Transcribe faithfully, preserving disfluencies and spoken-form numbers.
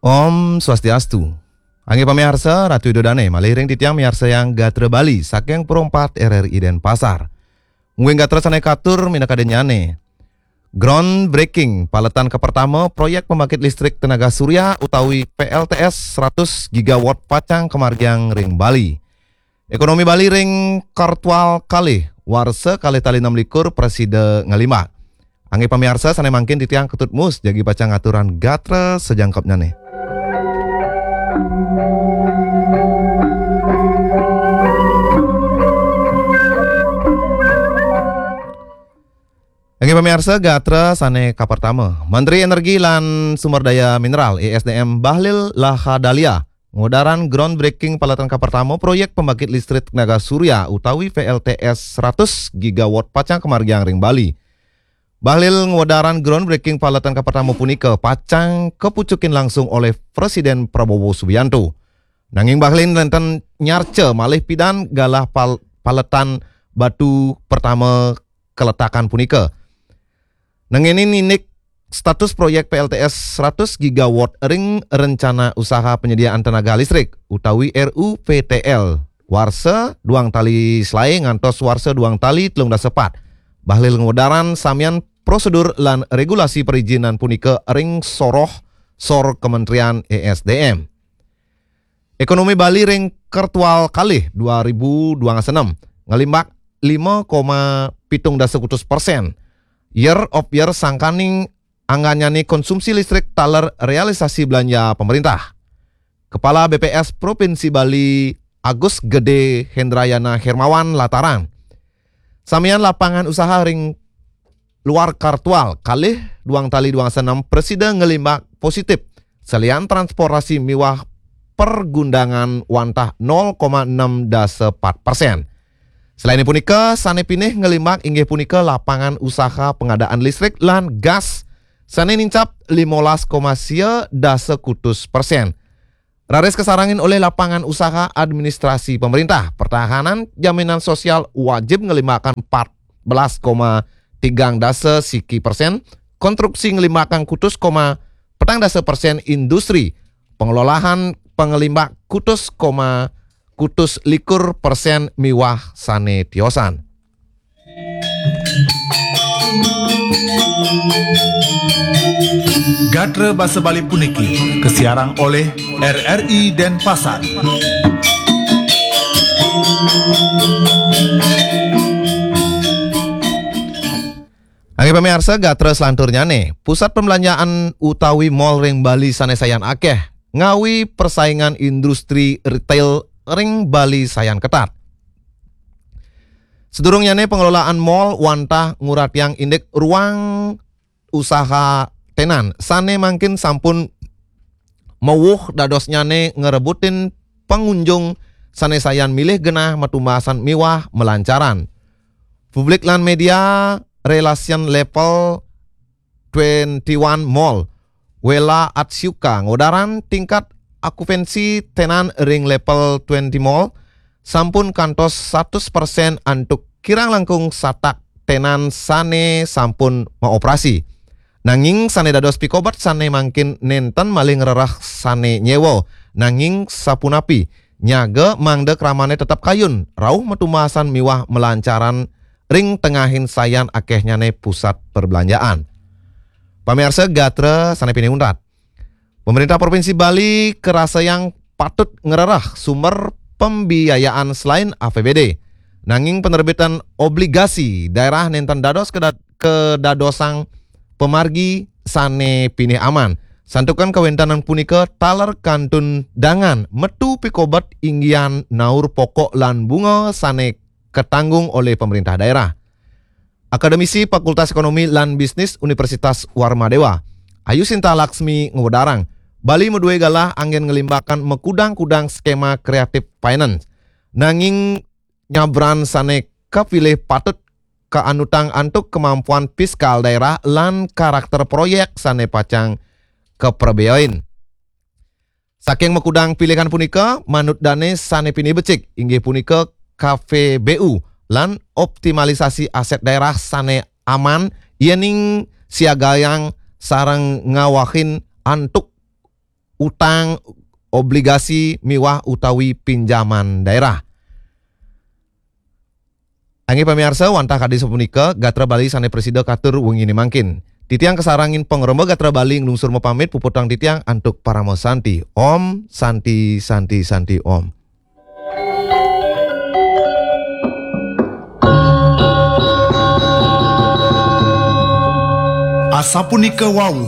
Om Swastiastu. Anggih pamiarsa, Ratu Ida Dane, malih ring titiang miarsayang gatra Bali saking Pro empat R R I Denpasar. Mungguing gatra sane katur minaka dennyane. Groundbreaking paletan kapertama proyek pembangkit listrik tenaga surya utawi P L T S seratus gigawatt pacang kamargiang ring Bali. Ekonomi Bali ring kartual kalih, warsa kalih tali enam likur prasida ngalimbak. Anggih pamiarsa sane mangkin titiang Ketut Mus jagi pacang ngaturang gatra sajangkepnyane. Anggih pamiarsa, gatra sane kapertama, Menteri Energi lan Sumber Daya Mineral, E S D M, Bahlil Lahadalia ngwedarang groundbreaking paletan kapertama proyek pembangkit listrik tenaga surya utawi P L T S seratus gigawatt pacang kamargiang ring Bali. Bahlil ngwedarang groundbreaking paletan kapertama punika pacang kapucukin langsung olih Presiden Prabowo Subianto. Nanging Bahlil nenten nyarca malih pidan galah pal-, paletan batu pertama kaletakan punika. Nanging indik status proyek P L T S seratus gigawatt ring Rencana Usaha Penyediaan Tenaga Listrik utawi R U P T L warsa duang tali selae ngantos warsa duang tali telung dasa pat. Bahlil ngwedarang samian prosedur lan regulasi perizinan punika ring soroh sor Kementerian E S D M. Ekonomi Bali ring kartual kalih dua ribu dua puluh enam ngalimbak lima koma pitung dasa kutus persen. Year of year sangkaning anggannyane konsumsi listrik taler realisasi belanja pemerintah. Kepala B P S Provinsi Bali Agus Gede Hendrayana Hermawan latarang. Samian lapangan usaha ring luar kartual kalih duang tali duang senam prasida ngalimbak positif. Salian transportasi miwah pergundangan wantah nol koma enam dasa pat persen. Selain punika, sane pinih ngalimbak inggih punika lapangan usaha pengadaan listrik lan gas sane nincap limolas koma sia dasa kutus persen. Raris kasarengin olih lapangan usaha administrasi pemerintah, pertahanan jaminan sosial wajib ngalimbakang empat belas koma tigang dasa siki persen, konstruksi ngalimbakang kutus koma petang dasa persen, industri pengelolaan pangalimbak kutus koma kutus likur persen miwah sane tiosan. Gatra basa Bali puniki kasiarang olih R R I Denpasar. Anggih pamiarsa, gatra selanturnyane, pusat pembelanjaan utawi mall ring Bali sane sayan akeh, ngawi persaingan industri retail ring Bali sayan ketat. Sadurungnyane, pengelolaan mall wantah nguratiang indik ruang usaha tenan sane mangkin sampun mawuh dadosnyane ngrebutin pangunjung sane sayan milih genah matumbasan miwah malancaran. Public lan Media Relation Level twenty-one Mall, Wela Atsuka, ngodarang tingkat okupansi tenan ring level twenty Mall sampun kantos satus persen antuk kirang langkung satak tenan sane sampun maoperasi. Nanging sane dados pikobet sane mangkin nenten malih ngrereh sane nyewa. Nanging sapunapi, nyaga mangda kramane tetep kayun, rauh matumbasan miwah malancaran ring tengahin sayan akehnyane pusat perbelanjaan. Pamiarsa gatra sane pinih untat. Pemerintah Provinsi Bali karasayang patut ngrereh sumber pembiayaan selain A P B D. Nanging penerbitan obligasi daerah nenten dados keda-, kadadosang pamargi sane pinih aman. Santukan kawentanan punika taler kantun dangan metu pikobet inggihan naur pokok lan bunga sane katanggung olih pemerintah daerah. Akademisi Fakultas Ekonomi lan Bisnis Universitas Warmadewa, Ayu Sinta Laksmi, ngwedarang, Bali madue galah anggen nglimbakang makudang-kudang skema creative finance. Nanging nyabran sane kapilih patut kaanutang antuk kemampuan fiskal daerah lan karakter proyek sane pacang kaprabeain. Saking makudang pilihan punika, manut dane sane pinih becik, inggih punika K V B U lan optimalisasi aset daerah sane aman, yening siagayang sareng ngawahin antuk utang, obligasi miwah utawi pinjaman daerah. Inggih pamiarsa, wantah kadi sapunika gatra Bali sané prasida katur wenginé mangkin. Titiang kasarengin pangremba gatra Bali nglungsur mapamit, puputang titiang antuk parama santi. Om Santi Santi Santi Om. Asapunika wau